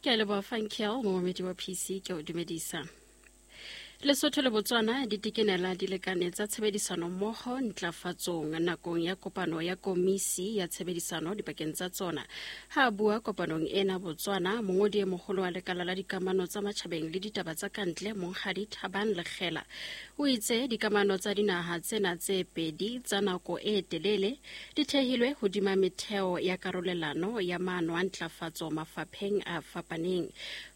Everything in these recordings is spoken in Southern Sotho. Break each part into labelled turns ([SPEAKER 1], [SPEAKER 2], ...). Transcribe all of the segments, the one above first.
[SPEAKER 1] Ke a leboha Funkel, momamedi wa PC, ke o dumedisa. Lesotho le Botswana di tekenela dilekane tsa tshebedisano mmoho ntlafatsong nakong ya kopano ya komisi ya tshebedisano dipakeng tsa tsona. Ha a bua kopanong ena Botswana, mongodi e moholo wa lekala la dikamano tsa matjhabeng le ditaba tsa kantle Monghadi Thabang Lekgela o itse dikamano tsa dinaha tsena tse pedi tsa nako e telele di thehilwe hodima metheo ya karolelano ya maano a ntlafatso mafapheng a fapaneng.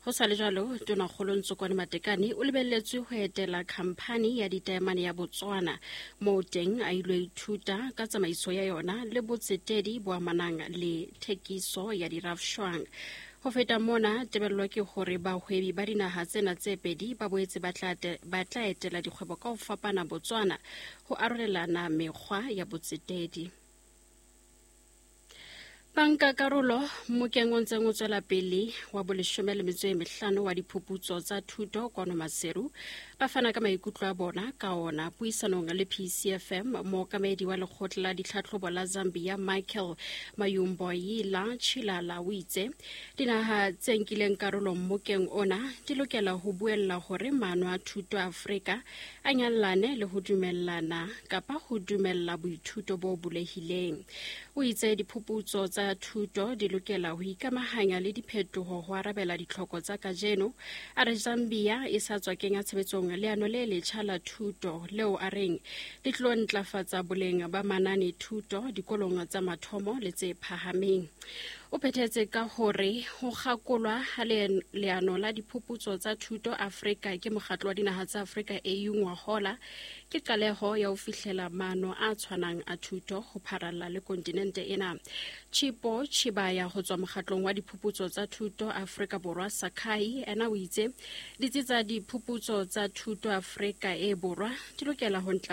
[SPEAKER 1] Ho sa le jwalo, Tonakgolo Ntsokwane Matekane o lebelletswe ho etela khamphani ya ditaemane ya Botswana moo teng a ilo ithuta ka tsamaiso ya yona le botsetedi bo amanang le thekiso ya dirafshwang. Ho feta mona, tebello ke hore bahwebi ba dinaha tsena tse pedi ba boetse ba tla etela dikgwebo ka ho fapana Botswana ho arolelana mekgwa ya botsetedi. Banka karolo mmokeng o ntseng o tswela pele wa boleshome le metso e mehlano wa diphuputso tsa thuto kwano Maseru ba fana ka maikutlo a bona ka ona puisanong le PCFM. Mookamedi wa lekgotla la ditlhatlhobo la Zambia Michael Mayumboyila Chilala o itse dinaha tse nkileng karolo mmokeng ona di lokela ho buella hore maano a thuto a Afrika a nyallane le ho dumellana kapa ho dumella boithuto bo bulehileng. O itse diphuputso tsa thuto di lokela ho ikamahanya le diphetoho ho arabela ditlhoko tsa kajeno. A re Zambia e sa tswa kenya tshebetsong leano le letjha la thuto leo a reng le tlo ntlafatsa boleng ba manane thuto dikolong tsa mathomo le tse phahameng. O phethetse ka hore ho kgakolwa ha leano la diphuputso tsa thuto Afrika ke Mokgatlo wa Dinaha tsa Afrika AU ngwahola ke qaleho ya ho fihlela maano a tshwanang a thuto ho pharalla le kontinente ena. Chipo Chibaya ho tswa Mokgatlong wa Diphuputso tsa Thuto Afrika Borwa Sakai ena o itse ditsi tsa diphuputso tsa thuto Afrika e Borwa di lokela ho ntlafatsa